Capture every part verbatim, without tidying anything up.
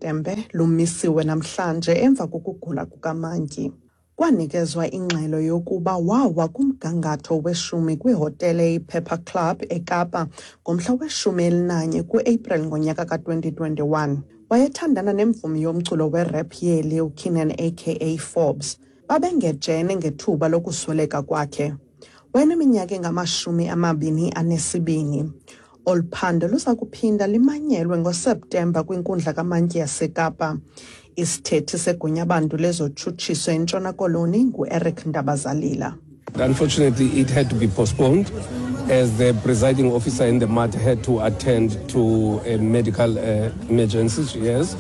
Tembe lumisiwe namhlanje emva kokugula kukamantyi. Kwanikezwa ingxelo yokuba wawa kumgangatho weshumi kwihotele iPepper Club eKapa ngomhla weshumi elinanye kuApril ngonyaka ka-twenty twenty-one. Wayethandana nemvumi yomculo werap yeli uKiernan aka Forbes. Babengejene ngethuba lokusweleka kwakhe. Wayeneminyaka engamashumi amabini anesibini. Olu phando luza kuphinda limanyelwe ngoSeptemba kwinkundla kamantyi yaseKapa. Isithethi seGunyabantu lezoTshutshiso eNtshona Koloni nguEric Ndabazalila. Unfortunately, it had to be postponed as the presiding officer in the matter had to attend to a medical, uh, emergency. Yes.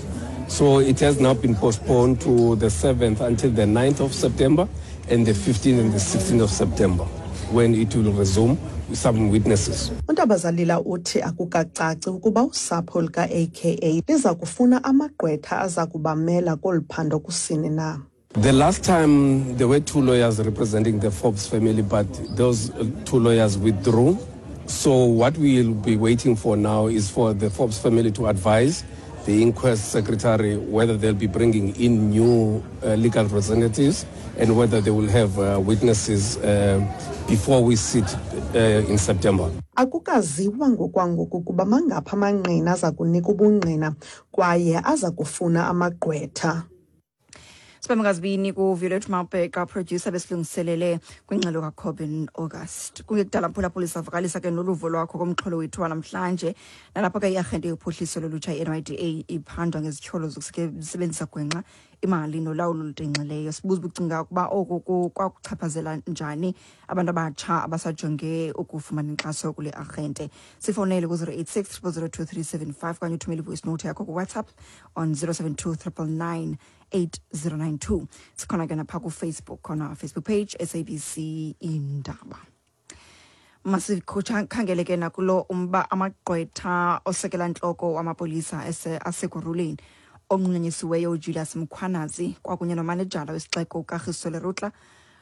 So it has now been postponed to the seventh until the ninth of September and the fifteenth and the sixteenth of September, when it will resume with some witnesses. UNtabazalila uthi akukacaci ukuba usapho luka-A K A liza kufuna amagqwetha aza kubamela kolu phando kusini na. The last time there were two lawyers representing the Forbes family, but those two lawyers withdrew. So what we will be waiting for now is for the Forbes family to advise the inquest secretary whether they'll be bringing in new, uh, legal representatives and whether they will have, uh, witnesses, uh, before we sit, uh, in September. Akukaziwa ngokwangoku kuba mangaphi amangqina aza kunika ubungqina kwaye aza kufuna amagqwetha. Sibambe ngazibini kuViolet Mabheka, producer besilungiselele kwingxelo kaCobin August. Kungekudala mphulaphuli savakalisa ke noluvo lwakho komxholo wethu wanamhlanje. Nalapho ke iarhente yophuhliso lolutsha i-N Y D A iphandwa ngezityholo zokusebenzisa gwenxa imali nolawulo olutenxileyo. Sibuza ubucinga ukuba oku ku-, kwakuchaphazela njani abantu abatsha abasajonge ukufumana inkxaso kule arhente. Sifowunele ku zero eight six triple zero two three seven five okanye uthumele i-voice note yakho kuWhatsApp on zero seven two triple nine eight zero nine two. Sikhona ke napha kuFacebook, khona Facebook page S A B C Indaba. Masikhangele ke nakulo umba amagqwetha osekela ntloko wamapolisa ese-, asekuruleni onqunyanyisiweyo uJulius Mkhwanazi kwakunye nomanejala wesixeko uKagiso Lerutla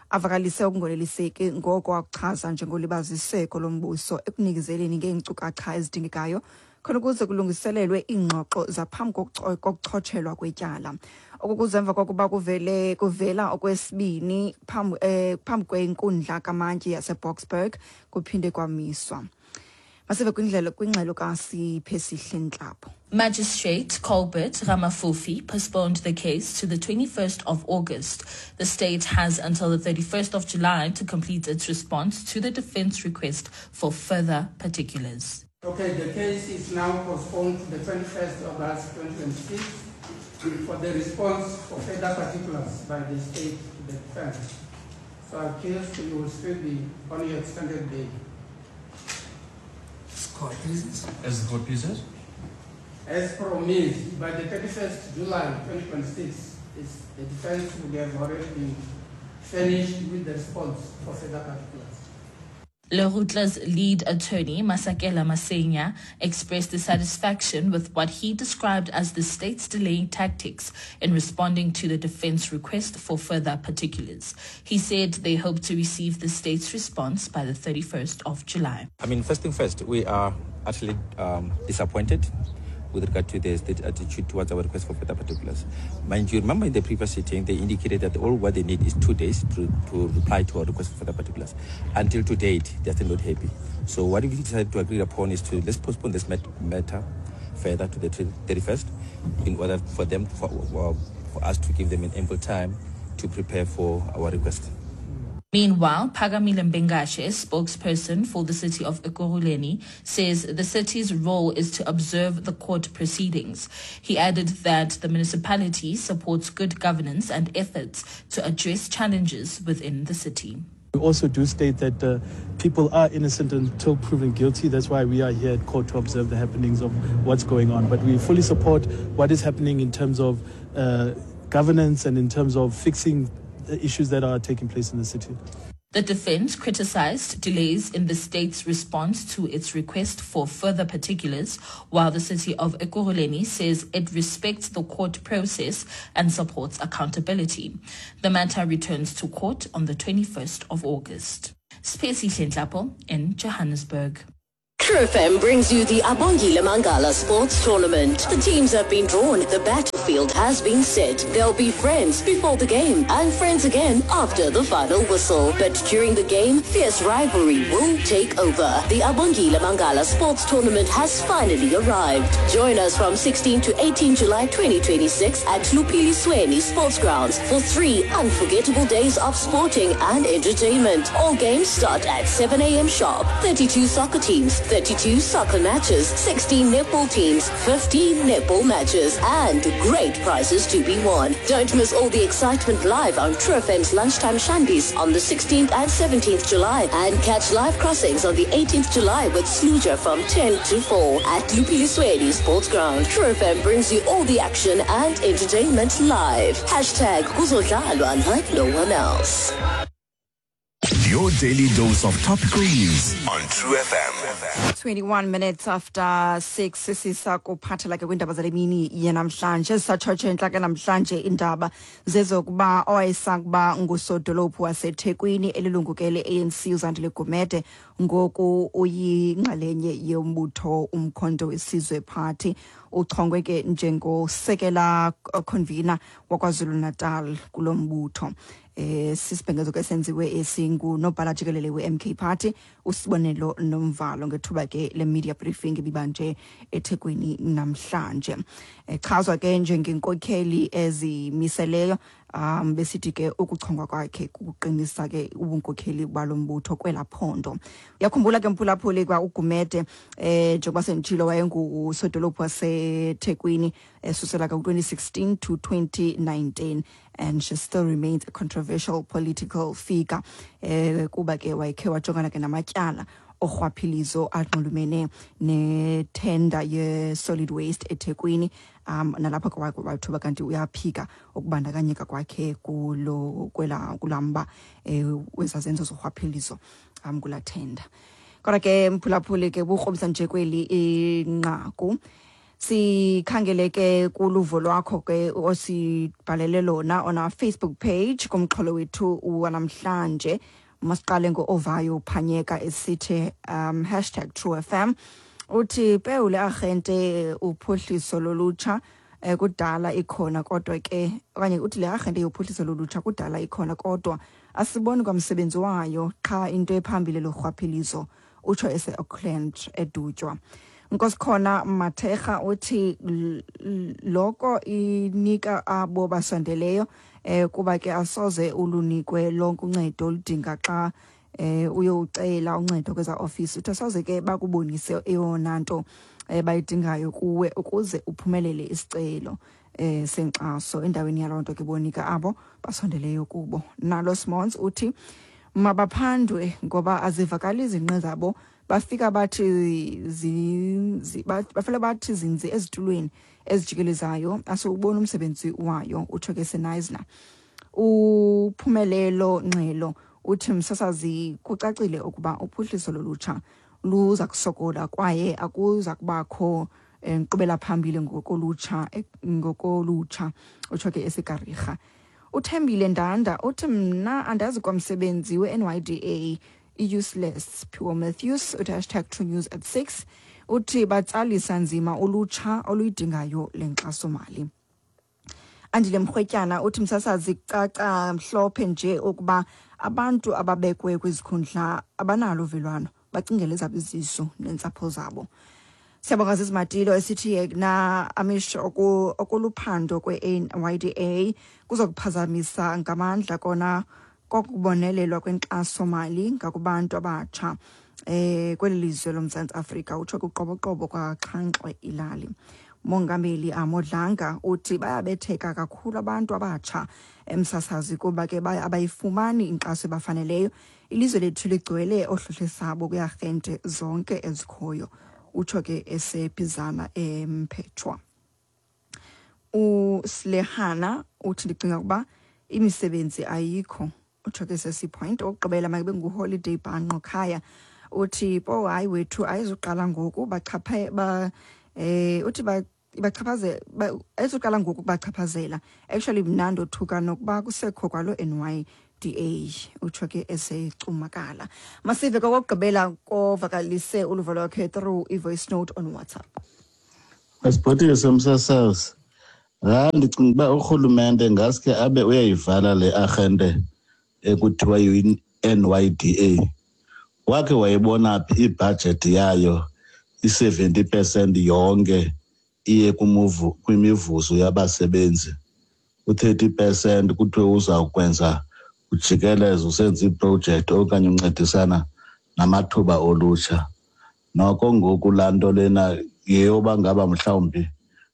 avakalise ukungoneliseki ngoko akuchaza njengolibaziseko lombuso ekunikezeleni ngeenkcukacha ezidingekayo khona ukuze kulungiselelwe iingxoxo zaphambi kokuco-, kokuchotshelwa kwetyala. Oku kuza emva kokuba kuvele, kuvela okwesibini phambi, eh, phambi kwenkundla kamantyi yaseBoksburg kuphinde kwamiswa. Masive kwindlela, kwingxelo kaSiphesihle Ntlapho. Magistrate Colbert Ramafufi postponed the case to the twenty-first of August. The state has until the thirty-first of July to complete its response to the defense request for further particulars. Okay, the case is now postponed to the twenty-first of August twenty twenty-six for the response for further particulars by the state to the defense. So accused, you will still be on your extended bail. Court pleases. As the court pleases. As promised, by the thirty-first of July twenty twenty-six, is the defense would have already been finished with the response for further particulars. Lerutla's lead attorney, Masakela Masenya, expressed dissatisfaction with what he described as the state's delaying tactics in responding to the defense request for further particulars. He said they hope to receive the state's response by the thirty-first of July. I mean, first thing first, we are actually, um, disappointed with regard to the state attitude towards our request for further particulars. Mind you, remember in the previous sitting, they indicated that all what they need is two days to, to reply to our request for further particulars. Until to date, they're still not happy. So what we decided to agree upon is to let's postpone this mat-, matter further to the thirty-first in order for them, for, for, for us to give them an ample time to prepare for our request. Meanwhile, Phakamile Mbengashe, spokesperson for the city of Ekurhuleni, says the city's role is to observe the court proceedings. He added that the municipality supports good governance and efforts to address challenges within the city. We also do state that, uh, people are innocent until proven guilty. That's why we are here at court to observe the happenings of what's going on. But we fully support what is happening in terms of, uh, governance and in terms of fixing the issues that are taking place in the city. The defense criticized delays in the state's response to its request for further particulars, while the city of Ekurhuleni says it respects the court process and supports accountability. The matter returns to court on the twenty-first of August. Siphesihle Ntlapho in Johannesburg. True F M brings you the Abongile Mangala Sports Tournament. The teams have been drawn, the battle field has been set. They'll be friends before the game and friends again after the final whistle. But during the game, fierce rivalry will take over. The Abongile Mangala Sports Tournament has finally arrived. Join us from sixteen to eighteen July twenty twenty-six at Lupilisweni Sports Grounds for three unforgettable days of sporting and entertainment. All games start at seven a m sharp. thirty-two soccer teams, thirty-two soccer matches, sixteen netball teams, fifteen netball matches, and great prizes to be won. Don't miss all the excitement live on True F M's Lunchtime Shandies on the sixteenth and seventeenth July, and catch live crossings on the eighteenth July with Sluja from ten to four at Lupilisweni Sports Ground. True F M brings you all the action and entertainment live. Hashtag Kuzodlalwa like no one else. Your daily dose of topical news on True F M. twenty-one minutes after six, sisakuphathela ke kwiindaba zale mini yanamhlanje. Satshotshe entla ke namhlanje iindaba zezokuba owayesakuba ngusodolophu waseThekwini elilungu ke le-A N C uZandile Gumede ngoku uyinxalenye yombutho Umkhonto weSizwe Party. Uchongwe ke njengosekela convener waKwaZulu-Natal kulo mbutho. Eh sisibhengezo ke senziwe esingunobhala jikelele we-M K Party uSibonelo Nomvalo ngethuba ke le media briefing ebibanje eThekwini namhlanje. Echazwa ke njengenkokheli ezimiseleyo, um besithi ke ukuchongwa kwakhe kuqinisa ke ubunkokheli balombutho kwelaphondo. Uyakhumbula ke mphulaphuli kwa uGumede eh njengoba senditshilo wayengusodolophu waseThekwini esusela ka twenty sixteen to twenty nineteen, and she still remains a controversial political figure eh kuba ke wayekhe wajongana ke namatyala orhwaphilizo anxulumene nethenda ye-solid waste eThekwini, um nalapho ke wathuba kanti uyaphika ukubandakanyeka kwakhe kulo kwela kulamba eh wezazenzo zorhwaphilizo um kula tenda. Kodwa ke mphulaphuli ke bukrobisa nje kweli inqaku. Sikhangele ke kuluvo lwakho ke osibhalele lona on our Facebook page kumxholo wethu wanamhlanje. Masiqale ngo-Ovayo Phanyeka esithi um hashtag True F M. Uthi pewule arhente uphuhliso lolutsha eh, kudala ikhona kodwa ke okanye uthi le arhente yophuhliso lolutsha kudala ikhona kodwa asiboni kwamsebenzi wayo qha into ephambili lorhwaphilizo, utsho ese-Auckland eDutywa. Nkosikhona Mathekga uthi loko inika abo basondeleyo eh kuba ke asoze ulunikwe lonke uncedo oludinga xa eh uyocela uncedo kweza office. Uthi asoze ke bakubonise eyona nto bayidingayo kuwe ukuze uphumelele isicelo eh senkxaso. Endaweni yaloo nto ke bonika abo basondeleyo kubo. Nalo Simons uthi mabaphandwe ngoba azivakali izinqe zabo, bafika bathi zinzi bafela bathi zinzi ezitulweni ezijikelezayo asubona umsebenzi wayo, utsho ke Senayizna. Uphumelelo Nxelo uthi msasazi kucacile ukuba uphuhliso lolutsha luza kusokola kwaye akuza kubakho inkqubela phambili ngokolutsha ngokolutsha, utsho ke eSikarika. Uthembile Ndanda uthi mna andazi kwamsebenzi we-N Y D A useless. Pure Matthews uthi hashtag True News at six uthi batsalisa nzima ulutsha oluyidingayo le nkxasomali. Andile Mrwetyana uthi msasazi kucaca mhlophe nje ukuba abantu ababekwe kwizikhundla abanalo uvelwano, bacingele ezabo izisu nentsapho zabo. Siyabonga Zizimatilo esithi na amisho okuluphando kwe-N Y D A kuzokuphazamisa ngamandla kona kokubonelelwa kwenkxasomali ngakubantu abatsha eh kweli lizwe loMzantsi Afrika, utsho kuqoboqobo kwaxhanxwe ilali. Mongameli Amodlanga uthi bayabetheka kakhulu abantu abatsha emsasazi kuba ke abayifumani inkxaso ebafaneleyo. Ilizwe lethu ligcwele ohlohlesabo kwiarhente zonke ezikhoyo, utsho ke eseBizana eMphethwa. uSlehana uthi ndicinga ukuba imisebenzi ayikho, utsho ke sesi point. Okugqibela mayibe nguHoliday Bhanqo Khaya uthi po hayi wethu ayizuqala ngoku bachaphe ba eh uthi ba bachaphaze ayizuqala ngoku bachaphazela. Actually mna ndothuka nokuba kusekho kwalo N Y D A, utsho ke esecumakala. Masive kokugqibela kovakalise uluvo lwakhe through i-voice note on WhatsApp. Masibhotise msasazi. Hayi, ndicinga uba urhulumente ngaske abe uyayivala le arhente ekuthiwa yi-N Y D A. Wakhe wayibona phi ibhajethi yayo i-seventy percent yonke iye kumuvu, kwimivuzo yabasebenzi, u-thirty percent kuthiwe uzawukwenza ujikeleze usenza iprojekthi okanye uncedisana namathuba olutsha. Noko ngoku laa nto lena yeyoba ngaba mhlawumbi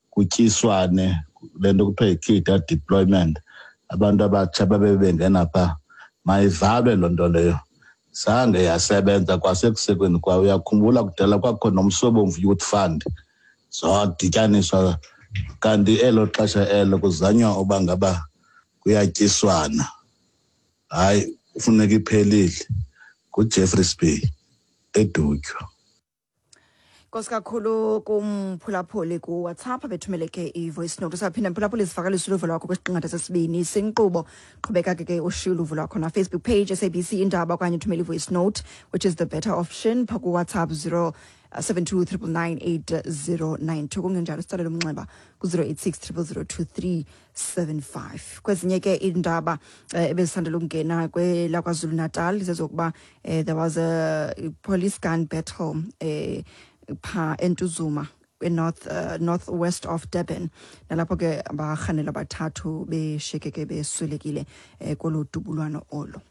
kutyiswane le nto kuthiwa yi-cadre deployment, abantu abatsha babe bengena phaa. Mayivalwe loo nto leyo. Zange yasebenza kwasekusekweni kwayo. Uyakhumbula kudala kwakho noMsobomvu Youth Fund, zadityaniswa, kanti elo xesha elo kuzanywa uba ngaba kuyatyiswana. Hayi, kufuneka iphelile. NguJeffreys Bay eDutywa. Nkosi kakhulu kumphulaphuli kuWhatsApp bethumeleke i-voice note. Usaphinda mphulaphuli sivakalise uluvo lwakho kwisiqingatha sesibini senkqubo. Qhubeka ke ke ushiye uluvo lwakho na Facebook page S A B C Indaba okanye uthumele i-voice note, which is the better option, phaa kuWhatsApp zero seven two triple nine eight zero nine two. Kungenjalo sitsalele umnxeba ku zero eight six triple zero two three seven five. Kwezinye ke iindaba, eh, ebezisandela ukungena kwelakwaZulu Natal zezokuba, eh, there was a police gun battle, eh, phaa eNtuzuma, eNorth, uh, northwest of Durban, nalapho ke abarhanelwa abathathu beshiyeke beswelekile, eh, kolo dubulwano olo.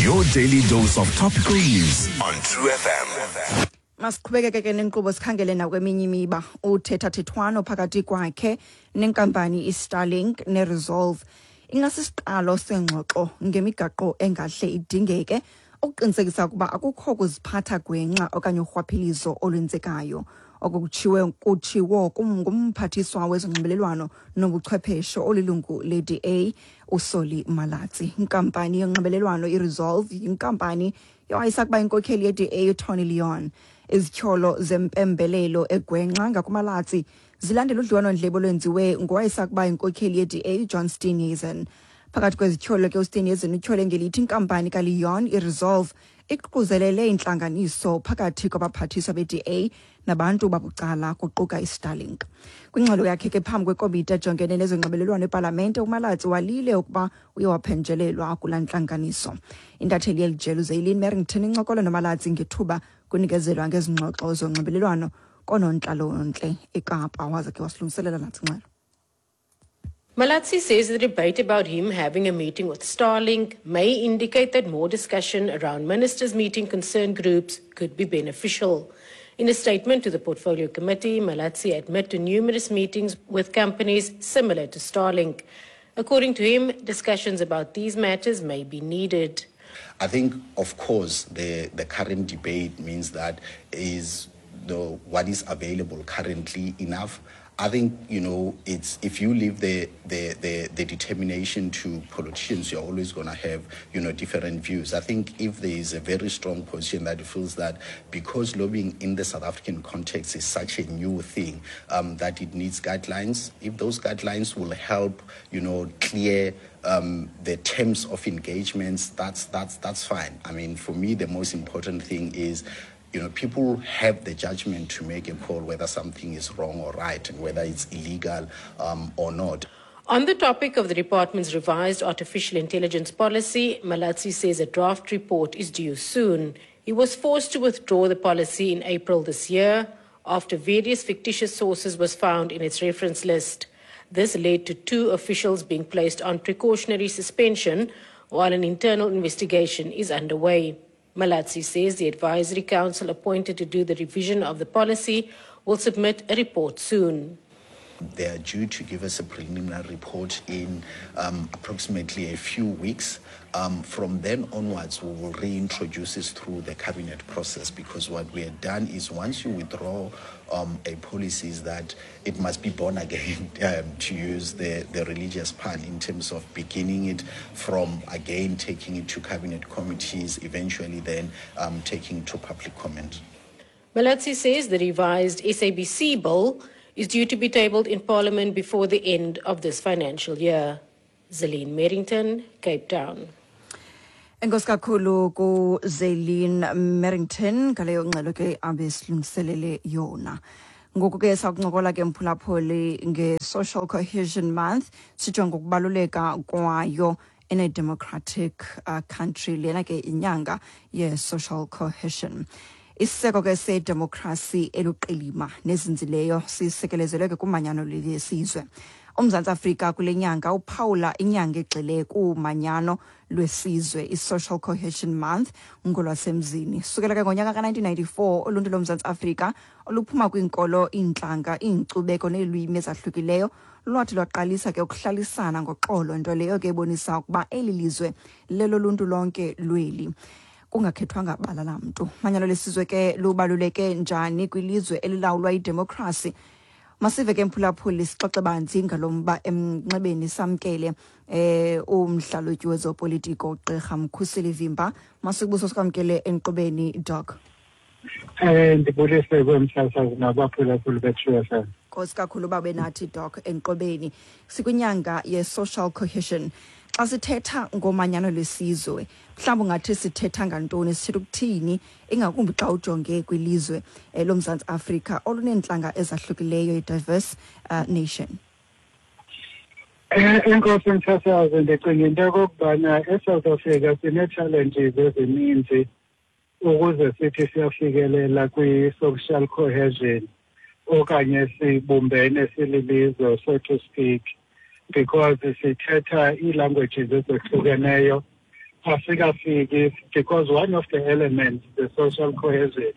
Your daily dose of topical news on True F M. Masiqhubekeke ke nenkqubo sikhangele nakweminye imiba. Uthethathethwano phakathi kwakhe nenkampani iStarlink neResolve ingasisiqalo sengxoxo ngemigaqo engahle idingeke ukuqinisekisa ukuba akukho kuziphatha gwenxa okanye urhwaphilizo olwenzekayo. Oko kutshiwe kutshiwo ngumphathiswa wezonxibelelwano nobuchwepheshe olilungu le-D A uSolly Malatsi. Inkampani yonxibelelwano iResolve yinkampani yowayesakuba inkokheli ye-D A uTony Leon. Izityholo zempembelelo egwenxa ngakuMalatsi zilandela udliwano-ndlebe olwenziwe ngowayesakuba inkokheli ye-D A uJohn Steenhuisen. Phakathi kwezityholo ke uSteenhuisen utyhole ngelithi inkampani kaLeon iResolve iququzelele intlanganiso phakathi kwabaphathiswa be-D A nabantu babucala kuquka iStarlink. Kwingxelo yakhe ke phambi kwekomiti ejongene nezonxibelelwano epalamente, uMalatsi walile ukuba uye waphenjelelwa kulaa ntlanganiso. Intatheli yeli jelo uZaylin Merrington incokola noMalatsi ngethuba kunikezelwa ngezingxoxo zonxibelelwano koonontlalontle eKapa, waze ke wasilungiselela nathi ingxelo. Malatsi says the debate about him having a meeting with Starlink may indicate that more discussion around ministers meeting concerned groups could be beneficial. In a statement to the Portfolio Committee, Malatsi admitted to numerous meetings with companies similar to Starlink. According to him, discussions about these matters may be needed. I think, of course, the, the current debate means that is the, what is available currently enough. I think, you know, it's if you leave the, the, the, the determination to politicians, you're always gonna have, you know, different views. I think if there is a very strong position that feels that because lobbying in the South African context is such a new thing, um, that it needs guidelines, if those guidelines will help, you know, clear um, the terms of engagements, that's, that's, that's fine. I mean, for me, the most important thing is, you know, people have the judgment to make a call whether something is wrong or right and whether it's illegal, um, or not. On the topic of the department's revised artificial intelligence policy, Malatsi says a draft report is due soon. He was forced to withdraw the policy in April this year after various fictitious sources was found in its reference list. This led to two officials being placed on precautionary suspension while an internal investigation is underway. Malatsi says the advisory council appointed to do the revision of the policy will submit a report soon. They are due to give us a preliminary report in, um, approximately a few weeks. Um, from then onwards, we will reintroduce this through the cabinet process, because what we have done is once you withdraw, um, a policy is that it must be born again, um, to use the, the religious pun, in terms of beginning it from again, taking it to cabinet committees, eventually then, um, taking it to public comment. Malatsi says the revised S A B C bill is due to be tabled in Parliament before the end of this financial year. Zelene Merrington, Cape Town. Enkosi kakhulu ku Zelene Merrington ngaleyo ngxelo ke abesilungiselele yona. Ngoku ke sakuncokola ke mphulaphuli nge-Social Cohesion Month, sijonge ukubaluleka kwayo in a democratic uh, country. Lena ke inyanga ye-social cohesion. Isiseko ke sedemokhrasi eluqilima nezinzileyo sisekelezelwe ke kumanyano lwesizwe. UMzantsi Afrika kule nyanga uphawula inyanga egxile kumanyano lwesizwe, i-Social Cohesion Month ngolwasemzini. Sukela ke ngonyaka ka-nineteen ninety-four, uluntu loMzantsi Afrika oluphuma kwiinkolo, iintlanga, iinkcubeko neelwimi ezahlukileyo lwathi lwaqalisa ke ukuhlalisana ngoxolo, nto leyo ke ebonisa ukuba eli lizwe leloluntu lonke lweli, kungakhethwanga bala lamntu. Manyano lesizwe ke lubaluleke njani kwilizwe elilawulwa yidemokhrasi? Masive ke mphulaphuli, sixoxe banzi ngalo mba emnxebeni. Samkele eh umhlalutyi wezopolitiko uGqirha Mkhuseli Vimba. Masikubuso sikwamkele enkqubeni, Doc. Eh ndibulise kwemsasazi nabaphulaphuli be-True F M. Nkosi kakhulu babe nathi, Doc, enkqubeni. Sikwinyanga ye-social cohesion. Xa sithetha ngomanyano lwesizwe, mhlawumbi ungathi sithetha ngantoni, sithetha ukuthini, ingakumbi xa ujonge kwilizwe eh, loMzantsi Afrika oluneentlanga ezahlukileyo, i-diverse uh, nation? Eh enkosi msasazi, ndicinga into yokokubana eSouth Africa sinee-challenges ezininzi ukuze sithi siyafikelela kwi-social cohesion okanye sibumbene sililizwe, so to speak, because sithetha ii-languages ezehlukeneyo. Asikafiki, because one of the elements, the social cohesion,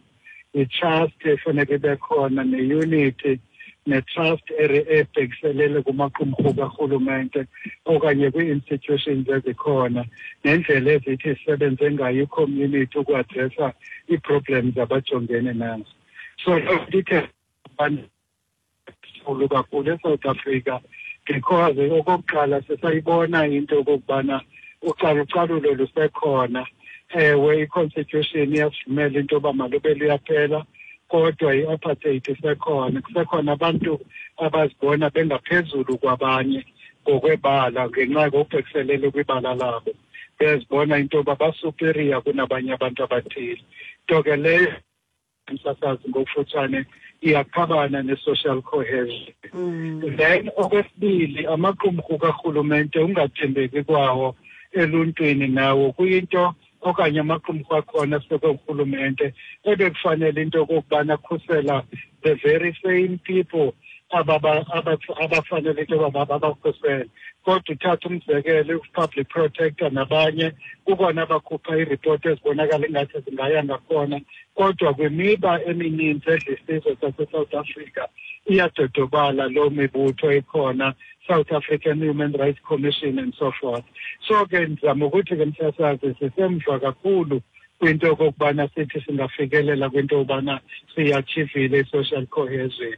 i-trust efuneka ibe khona, ne-unity, ne-trust ebhekiselele kumaqumrhu karhulumente okanye kwii-institutions ezikhona, nendlela ezithi zisebenze ngayo i-community uku-addressa ii-problems abajongene nazo. So loo nto ithe kakhulu eSouth Africa, because okokuqala sisayibona into yokokubana ucalucalulo lusekhona. Ewe, i-constitution iyasivumela into yoba malube luyaphela, kodwa i-apartheid isekhona. Kusekhona abantu abazibona bengaphezulu kwabanye ngokwebala, ngenxa ngokubhekiselele kwibala labo, bezibona into yoba basuperior kunabanye abantu abathile. Nto ke leyo, msasazi, ngokufutshane iyaqhabana ne-social cohesion. Mm. Then okwesibili, amaqumrhu karhulumente, ungathembeki kwawo eluntwini nawo kuyinto, okanye amaqumrhu akhona asekurhulumente ebekufanele into okokubana akhusela the very same people abafanele into yoba babakhusele. Kodwa uthatha umzekelo i-public protector nabanye, kukona abakhupha iiripoti ezibonakala ingathi zingaya ngakhona, kodwa kwimiba emininzi edla isizwe saseSouth Africa iyadodobala loo mibutho ikhona, South African Human Rights Commission and so forth. So ke ndizama ukuthi ke msasazi, sisemva kakhulu kwinto yokokubana sithi singafikelela kwinto yobana siyi-achievile i-social cohesion.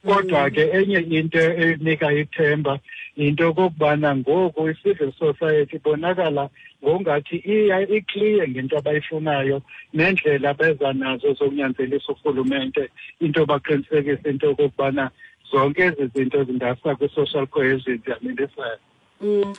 Kodwa ke enye into enika ithemba yinto yokokubana ngoku i-civil society ibonakala ngokungathi iya i-clear ngento abayifunayo nendlela abeza nazo zokunyanzelisa urhulumente into baqinisekise into yokokubana zonke ezi zinto zingasa kwi-social cohesion ziyamilisela. Mm.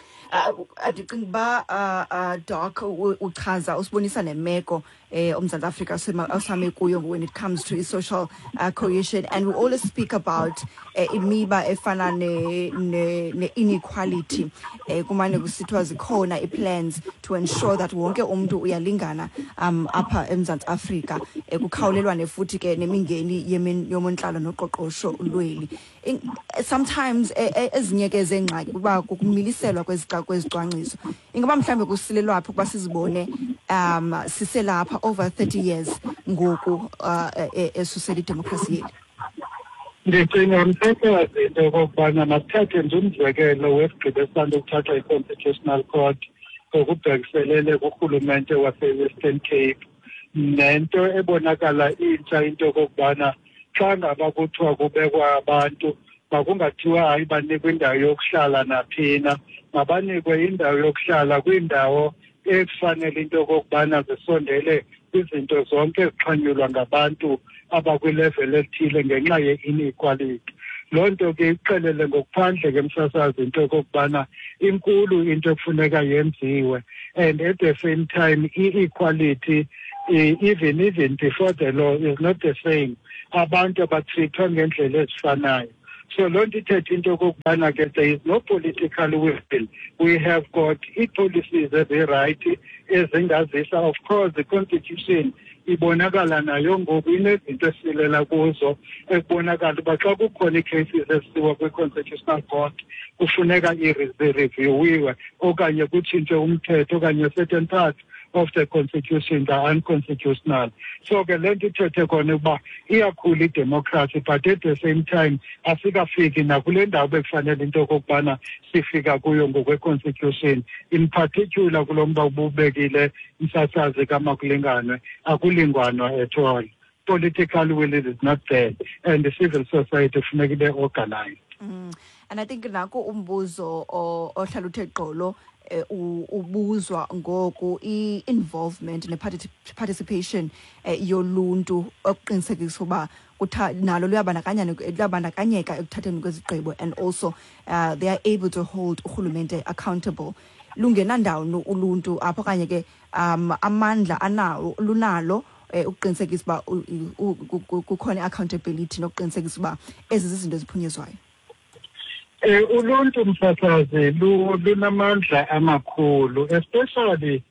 Andicinga uba uh, uh, Doc uchaza usibonisa nemeko eh uMzantsi Afrika osame kuyo when it comes to social uh, cohesion, and we always speak about uh, imiba efana ne, ne, ne inequality. eh kumane kusithiwa zikhona i-plans to ensure that wonke umuntu uyalingana um apha eMzantsi Afrika, eh, kukhawulelwane futhi ke nemingeni yomontlalo noqoqosho lweli. Sometimes ezinye ke zengxaki kuba kukumiliselwa kwezicwangciso. Ingaba mhlambe kusilelwa phi ukuba sizibone um siselapha over thirty years ngoku uh, esusela idemokhrasi yethu? Ndicinga msasazi into yokokubana masithathe nje umzekelo wesigqibo esisanda ukuthathwa yi-Constitutional Court ngokubhekiselele kurhulumente wase-Western Cape, nento ebonakala intsha into yokokubana xa ngaba kuthiwa kubekwa abantu, makungathiwa hayi banikwe indawo yokuhlala naphina, mabanikwe indawo yokuhlala kwiindawo ekufanele into yokokubana zisondele kwizinto zonke ezixhanyulwa ngabantu abakwilevel ethile ngenxa ye-inequality. Loo nto ke ixelele ngokuphandle ke msasazi into yokokubana inkulu into ekufuneka yenziwe, and at the same time i-equality even even before the law is not the same. Abantu abatreatwa ngendlela ezifanayo. So loo nto ithetha into okokubana ke there is no political will. We have got ii-policies ezirayithi ezingazisa. Of course, the constitution ibonakala nayo ngoku inezinto esilela kuzo, ekubonakala uba xa kukhona ii-cases ezisiwa kwi-constitutional court kufuneka ireviewiwe okanye kutshintshwe umthetho okanye certain parts of the constitution are unconstitutional. So ke le nto ithethe khona ukuba iyakhula idemocracy, but at the same time asikafiki nakule ndawo bekufanele into okokubana sifika kuyo ngokwe-constitution. In particular kulo mba ububekile msasazi kamakulinganwe, akulingwanwa at all. Political will is not there, and the civil society funeka ibe organized. Mm. And I think nako umbuzo ohlala uthe gqolo ubuzwa ngoku i-involvement ne-participation yoluntu okuqinisekisa uba nalo luyabandakanyeka ekuthatheni kwezigqibo, and also uh, they are able to hold urhulumente accountable. Lungenandawo uluntu apho okanye ke um amandla anawo lunalo ukuqinisekisa uba kukhona i-accountability nokuqinisekisa uba ezi zizinto eziphunyezwayo. Eh uluntu msasazi lunamandla amakhulu, especially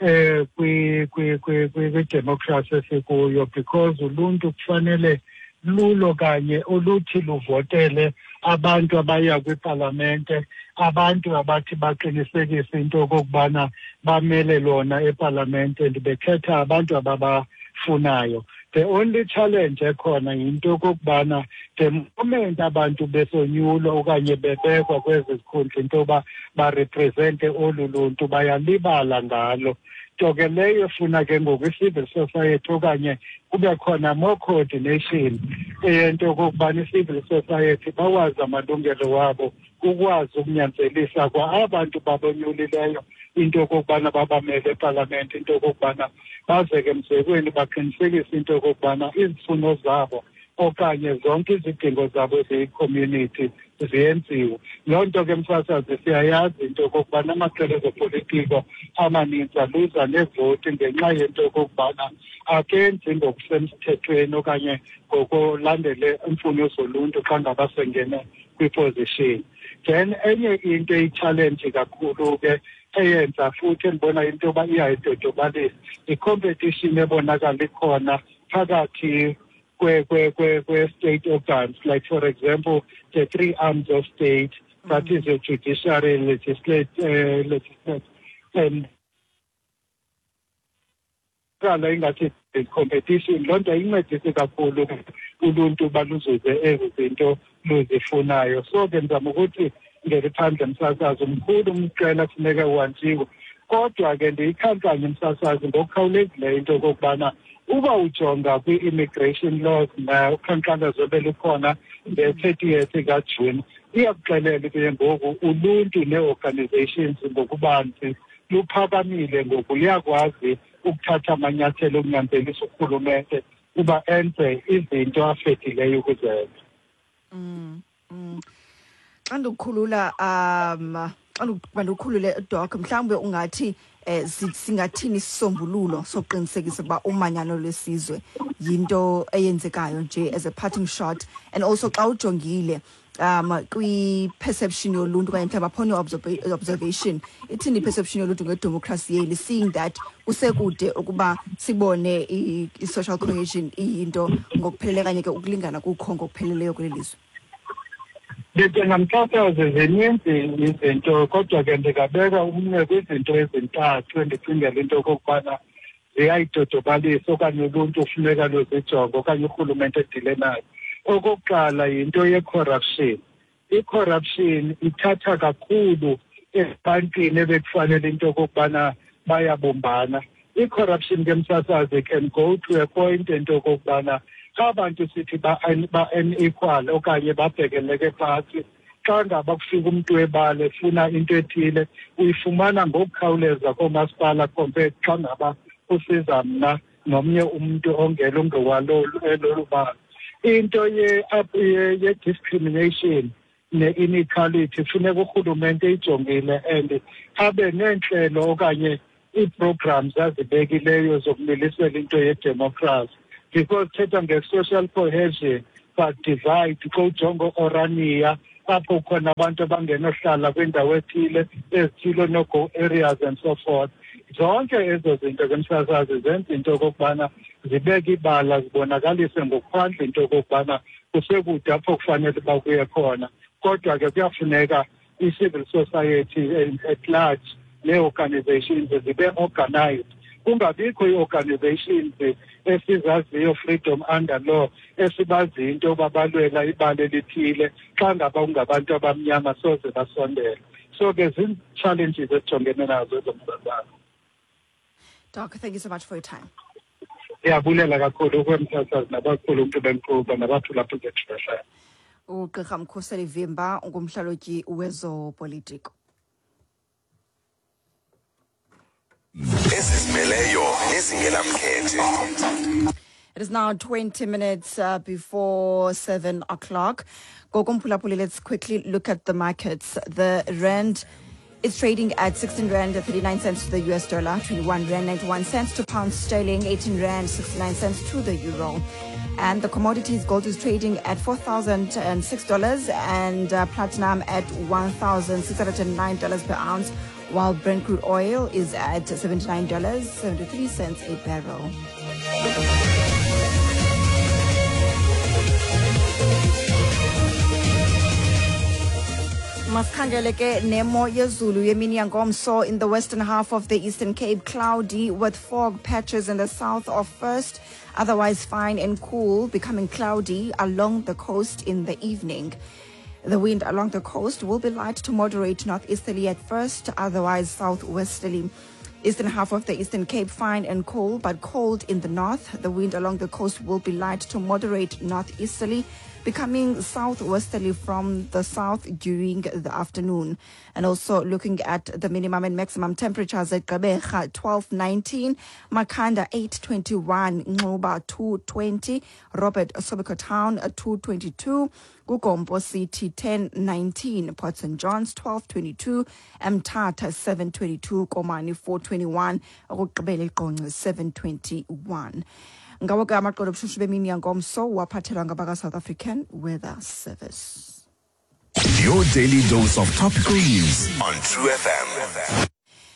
eh kwi kwi kwi kwi-democracy esikuyo, because uluntu kufanele lulo kanye oluthi luvotele abantu abaya kwipalamente, abantu abathi baqinisekise into okokubana bamele lona epalamente and bekhetha abantu ababafunayo. The only challenge ekhona yinto okokubana the moment abantu besonyulwa okanye bebekwa kwezi zikhundla into yoba barepresente olu luntu bayalibala ngalo. Nto ke leyo efuna ke ngoku i-civil society okanye kube khona more coordination eyento okokubana i-civil society bawazi amalungelo wabo, ukwazi ukunyanzelisa kwa abantu babonyulileyo into okokubana babamele epalamente, into okokubana bazeke emzekweni baqinisekise into okokubana izifuno zabo okanye zonke izidingo zabo eziyi-community ziyenziwe. Loo nto ke msasazi siyayazi into okokubana amaqela ezopolitiko amaninzi aluza nevoti ngenxa yento okokubana akenzi ngokusemthethweni okanye ngokulandele iimfuno zoluntu xa ngaba sengene kwiposition. Then enye into eyi-challenge kakhulu ke eyenza futhi endibona into yoba iyayidodobalisa i-competition ebonakala ikhona phakathi kwe-state organs, like for example the three arms of state, that is the judiciary, legislate, uh, legislate and ingathi competition. Loo nto ayincedisi kakhulu uluntu uba luzuze ezi zinto luzifunayo. So ke ndizama ukuthi ngeliphandle msasazi mkhulu umqela kufuneka uhanjiwe, kodwa ke ndiyikhankanye msasazi ngokukhawulezileyo into okokubana uba ujonga kwi-immigration laws uqhankqalazo belukhona nge-thirtieth kaJuni, iyakuxelela ke ngoku uluntu nee-organizations ngokubanzi luphakamile ngoku, liyakwazi ukuthatha amanyathelo okunyanzelisa urhulumente uba enze izinto afedileyo ukuzenza. Mm, mm. Xa ndikukhulula um xa ndikukhulule Doc, mhlawumbe ungathi eh singathini isisombululo sokuqinisekisa ukuba umanyano lwesizwe yinto eyenzekayo nje as a parting shot, and also xa ujongile um kwi-perception yoluntu okanye mhlawumbi upon your observation, ithini i-perception yoluntu ngedemocracy yeli, seeing that kusekude ukuba sibone i-social cohesion iyinto ngokuphelele okanye ke ukulingana kukho ngokupheleleyo kweli lizwe? Ndicinga msasazi zininzi izinto, kodwa ke ndingabeka umnwe kwizinto ezintathu endicingela into okokubana ziyayidodobalisa okanye uluntu ufuneka luzijonge okanye urhulumente edile nayo. Okokuqala yinto ye-corruption. I-corruption ithatha kakhulu ebantwini ebekufanele into okokubana bayabumbana. I-corruption ke msasazi can go to a point into okokubana xa abantu sithi ba-unequal okanye babhekeleke phantsi, xa ngaba kufika umntu webala efuna into ethile uyifumana ngokukhawuleza koomasipala compared xa ngaba kusiza mna nomnye umntu ongelungu walolu bala. Into ye-discrimination ne-inequality funeka urhulumente ijongile and abe neentlelo okanye ii-programs azibekileyo zokumilisela into yedemokhrasi, because thetha nge-social cohesion but divide. Xa ujonga Orania apho khona abantu abangenohlala kwindawo ethile ezithile, no-go areas and so forth. Zonke ezo zinto ke msasazi zenza into okokubana zibeke ibala, zibonakalise ngokuphandle into okokubana kusekude apho kufanele uba kuye khona. Kodwa ke kuyafuneka i-civil society at large nee-organizations zibe organized, kungabikho ii-organizations esizaziyo freedom under law esibaziyo into yoba balwela ibala elithile, xa ngaba kungabantu abamnyama soze basondele. So ke zii-challenges esijongene nazo ezomsasana. Doc, thank you so much for your time. Ndiyabulela kakhulu kwemsasazi nabakhulu umntu benkqubo nabaphulaphuli bethu. Ugqirha Mkhuseli Vimba ungumhlalutyi wezopolitiko. Ezizimeleyo nezingenamkhethe. It is now twenty minutes uh, before seven o'clock. Gokumphulaphuli, let's quickly look at the markets. The rand is trading at sixteen rand thirty-nine cents to the U S dollar, twenty-one rand ninety-one cents to pound sterling, eighteen rand sixty-nine cents to the euro. And the commodities, gold is trading at four thousand six dollars and uh, platinum at one thousand six hundred nine dollars per ounce, while Brent crude oil is at seventy-nine dollars and seventy-three cents a barrel. Masikhangele ke nemo yezulu yemini yangomso in the western half of the Eastern Cape, cloudy with fog patches in the south of first, otherwise fine and cool, becoming cloudy along the coast in the evening. The wind along the coast will be light to moderate northeasterly at first, otherwise southwesterly. Eastern half of the Eastern Cape, fine and cool, but cold in the north. The wind along the coast will be light to moderate northeasterly, becoming southwesterly from the south during the afternoon. And also looking at the minimum and maximum temperatures at Gqeberha, twelve nineteen, Makhanda eight twenty-one, Nxuba two twenty, Robert Sobukwe Town two twenty-two, Kugompo City ten nineteen, Port Saint John's twelve twenty-two, Mthatha seven twenty-two, Komani four twenty-one, okokugqibela eQonce seven twenty-one. Ngawo ke amaqolo obushushu bemini yangomso waphathelwa ngabaka South African Weather Service. Your daily dose of topical news on True F M.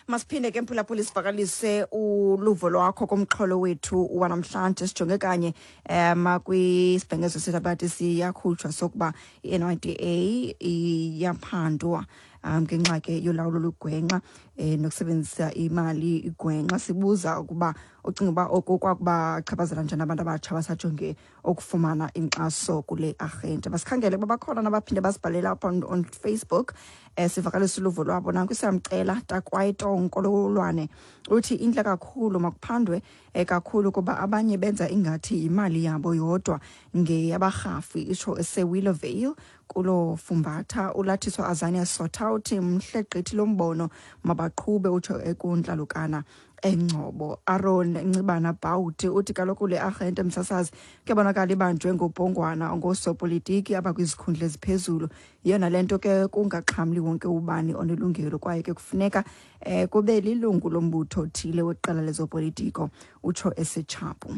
Masiphinde ke mphulaphuli sivakalise uluvo lwakho kumxholo wethu wanamhlanje. Sijonge kanye um kwisibhengezo sethu abathi siyakhutshwa sokuba i-N Y D A iyaphandwa um ngenxa ke yolawulo lugwenxa eh nokusebenzisa imali igwenxa. Sibuza ukuba ucinga uba oku kwakubachaphazela njani abantu abatsha abasajonge ukufumana inkxaso kule arhente. Masikhangele ukuba bakhona nabaphinde basibhalela apha on, on Facebook eh sivakalise uluvo lwabo. Nanku siyamcela Takwaito Nkololwane uthi intle kakhulu, makuphandwe eh, kakhulu kuba abanye benza ingathi imali yabo yodwa ngeyabarhafi, itsho eseWillowvale kulo fumbatha. Ulathiswa Azania Sotha uthi mhle gqithi lombono, mabaqhube, utsho ekuntlalukana eNgcobo. Aaron Ncibana Bawuti uthi kaloku le arhente msasazi kuyabonakala ibanjwe ngobhongwana ngoosopolitiki abakwizikhundla eziphezulu. Yiyona le nto ke kungaxhamli wonke ubani onelungelo, kwaye ke kufuneka eh, kube lilungu lombutho othile weqela lezopolitiko, utsho esetshapu.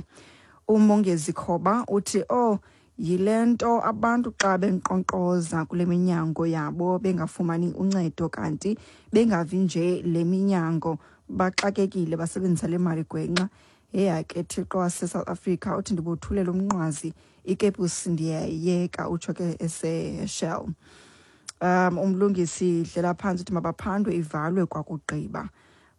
Umongezi Khoba uthi oh yile nto abantu xa benkqonkqoza kule minyango yabo bengafumani uncedo, kanti bengavi nje le minyango baxakekile basebenzisa le mali gwenxa. Yeya ke Thixo wase-South Africa uthi ndibothulela umnqwazi, ikepusi ndiyayiyeka, utsho ke eseShell. Um umlungisi dlela phantsi uthi mabaphandwe ivalwe kwakugqiba.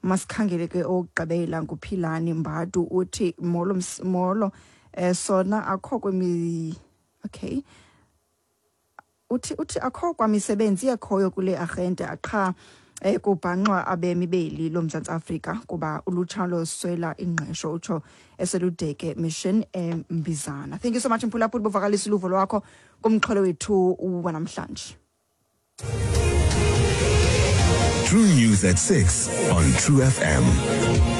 Masikhangele ke okugqibela nguPhilani Mbadu uthi molo molo eh sona akho kwemi okay uthi uthi akho kwamisebenzi ekhoyo kule arhente qha eh kubhanxwa abemi beli loMzantsi Afrika kuba ulutsha loswela ingqesho, utsho eseludeke Mission eMbizana. Thank you so much mphulaphuli bovakalisa uluvo lwakho kumxholo wethu wanamhlanje. True News at six on True F M.